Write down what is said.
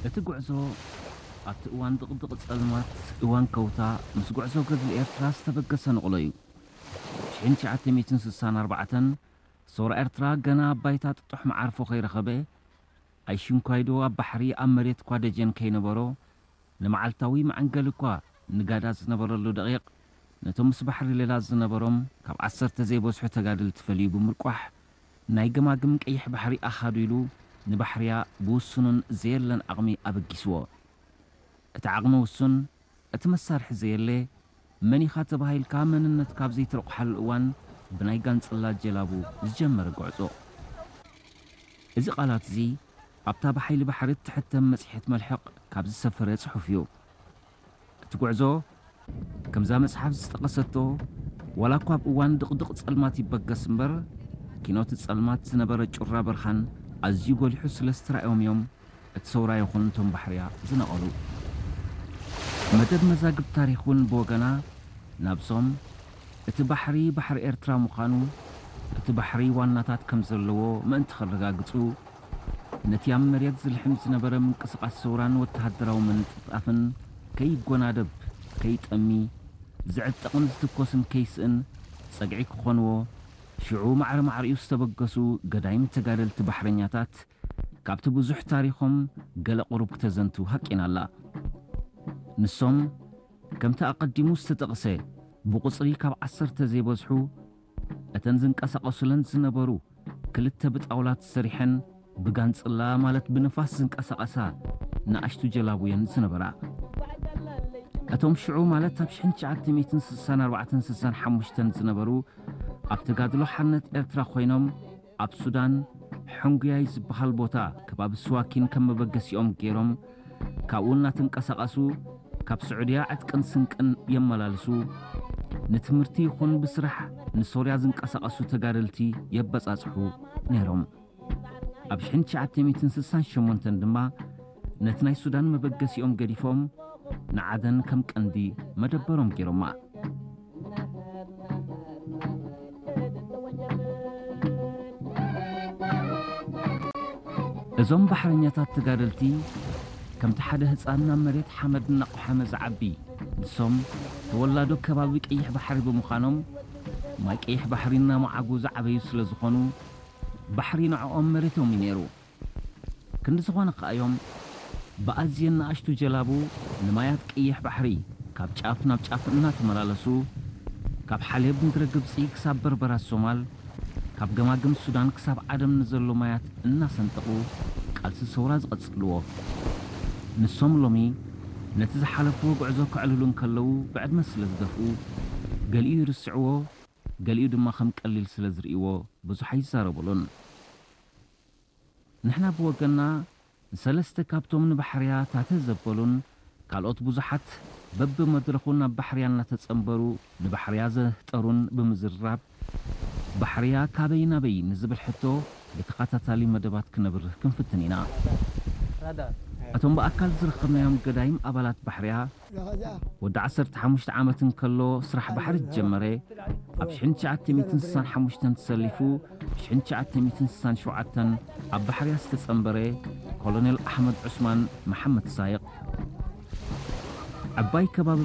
እቲ ጉዕዞ ኣብቲ እዋን ድቕድቕ ጸልማት፣ እዋን ከውታ፣ ምስ ጉዕዞ ገድሊ ኤርትራ ዝተበገሰ ንቕሎ እዩ። ሽሕን ትሽዓተ ሚእትን ስሳን ኣርባዕተን ሰውራ ኤርትራ ገና ኣብ ባይታ ጥጡሕ መዓርፎ ከይረኸበ፣ ኣይሽንኳይዶ ኣብ ባሕሪ ኣብ መሬት እኳ ደጀን ከይነበሮ፣ ንመዓልታዊ መዐንገሊ እኳ ንጋዳ ዝነበረሉ ደቂቕ፣ ነቶም ምስ ባሕሪ ሌላ ዝነበሮም ካብ ዓሰርተ ዘይበዝሑ ተጋደልቲ ፈልዩ ብምርቋሕ፣ ናይ ገማግም ቀይሕ ባሕሪ ኣኻዱ ኢሉ ንባሕርያ ብውሱኑን ዘየለን ዓቕሚ ኣበጊስዎ። እቲ ዓቕሚ ውሱን፣ እቲ መሳርሒ ዘየለ፣ መን ኢኻ ተባሂልካ መንነትካ ኣብ ዘይትረቑሓሉ እዋን ብናይ ጋንጽላ ጀላቡ ዝጀመረ ጉዕዞ። እዚ ቃላት እዚ ኣብታ ብሓይሊ ባሕሪ እትሕተም መጽሔት መልሕቕ ካብ ዝሰፈረ ጽሑፍ እዩ። እቲ ጉዕዞ ከምዛ መጽሓፍ ዝጠቐሰቶ፣ ዋላ እኳ ኣብ እዋን ድቕድቕ ጸልማት ይበገስ እምበር፣ ኪኖት ጸልማት ዝነበረ ጩራ በርኻን ኣዝዩ ጎሊሑ ስለ ዝተራእዮም እዮም እቲ ሰውራ ይኹን እቶም ባሕርያ ዝነቐሉ። መደብ መዛግብ ታሪኽ እውን ብወገና ናብሶም እቲ ባሕሪ ባሕሪ ኤርትራ ምዃኑ፣ እቲ ባሕሪ ዋናታት ከም ዘለዎ ምእንቲ ከረጋግጹ፣ ነቲ ኣብ መሬት ዝልሕም ዝነበረ ምንቅስቓስ ሰውራን ወተሃደራዊ ምንጥፍጣፍን ከይጎናደብ፣ ከይጠሚ፣ ዝዕጠቕን ዝትኮስን ከይስእን ጸግዒ ክኾንዎ፣ ሽዑ ማዕረ ማዕሪኡ ዝተበገሱ ገዳይም ተጋደልቲ ባሕረኛታት ካብቲ ብዙሕ ታሪኾም ገለ ቁሩብ ክተዘንቱ ሃቂና ኣላ። ንሶም፣ ከምቲ ኣቐዲሙ ዝተጠቕሰ፣ ብቑጽሪ ካብ ዓሰርተ ዘይበዝሑ፣ እተን ዝንቀሳቐሱለን ዝነበሩ ክልተ ብጣውላ ተሰሪሐን ብጋንጽላ ማለት ብንፋስ ዝንቀሳቐሳ ንኣሽቱ ጀላቡ እየን ዝነበራ። እቶም ሽዑ ማለት ኣብ ሽሕን ትሽዓተ ሚእትን ስሳን ኣርባዕተን ስሳን ሓሙሽተን ዝነበሩ ኣብ ተጋድሎ ሓርነት ኤርትራ ኮይኖም ኣብ ሱዳን ሕንጉያይ ዝበሃል ቦታ ከባቢ ስዋኪን ከም መበገሲኦም ገይሮም ካብኡ እናተንቀሳቐሱ ካብ ስዑድያ ዕጥቅን ስንቅን የመላልሱ፣ ንትምህርቲ ይኹን ብስራሕ ንሶርያ ዝንቀሳቐሱ ተጋደልቲ የበጻጽሑ ነይሮም። ኣብ ሽሕን ትሽዓተ ሚእትን ስሳን ሸሞንተን ድማ ነቲ ናይ ሱዳን መበገሲኦም ገዲፎም ንዓደን ከም ቀንዲ መደበሮም ገይሮማ። እዞም ባሕረኛታት ተጋደልቲ ከምቲ ሓደ ህጻን ናብ መሬት ሓመድ እናቆሓመ ዝዓቢ፣ ንሶም ተወላዶ ከባቢ ቀይሕ ባሕሪ ብምዃኖም፣ ማይ ቀይሕ ባሕሪ እናመዓጉ ዝዓበዩ ስለ ዝኾኑ፣ ባሕሪ ንዕኦም መሬቶም እዩ ነይሩ። ክንዲ ዝኾነ ከኣ እዮም ብኣዝየን ንኣሽቱ ጀላቡ ንማያት ቀይሕ ባሕሪ ካብ ጫፍ ናብ ጫፍ እናተመላለሱ፣ ካብ ሓሌብ ምድረ ግብጺ ክሳብ በርበራ ሶማል፣ ካብ ገማግም ሱዳን ክሳብ ዓደም ንዘሎ ማያት እናሰንጠቑ ቃልሲ ሰውራ ዝቐጽልዎ። ንሶም ሎሚ ነቲ ዝሓለፍዎ ጉዕዞ ከዕልሉ እንከለዉ ብዕድመ ስለ ዝደፍኡ፣ ገሊኡ ይርስዕዎ፣ ገሊኡ ድማ ከም ቀሊል ስለ ዝርእይዎ ብዙሕ ኣይዛረቡሉን። ንሕና ብወገንና ንሰለስተ ካብቶም ንባሕርያ ታተ ዘበሉን ካልኦት ብዙሓት በብመድረኹ ናብ ባሕርያ እናተጸንበሩ ንባሕርያ ዘህጠሩን ብምዝርራብ፣ ባሕርያ ካበይ ናበይ ንዝብል ሕቶ ብተኸታታሊ መደባት ክነብርህ ክንፍትን ኢና። እቶም ብኣካል ዝረኸብናዮም ገዳይም ኣባላት ባሕርያ፣ ወዲ ዓሰርተ ሓሙሽተ ዓመት እንከሎ ስራሕ ባሕሪ ዝጀመረ፣ ኣብ ሽሕን ትሽዓተ ሚእትን ስሳን ሓሙሽተን ተሰሊፉ፣ ኣብ ሽሕን ትሽዓተ ሚእትን ስሳን ሸውዓተን ኣብ ባሕርያ ዝተጸንበረ ኮሎኔል ኣሕመድ ዑስማን መሓመድ ሳይቕ፣ ዕባይ ከባቢ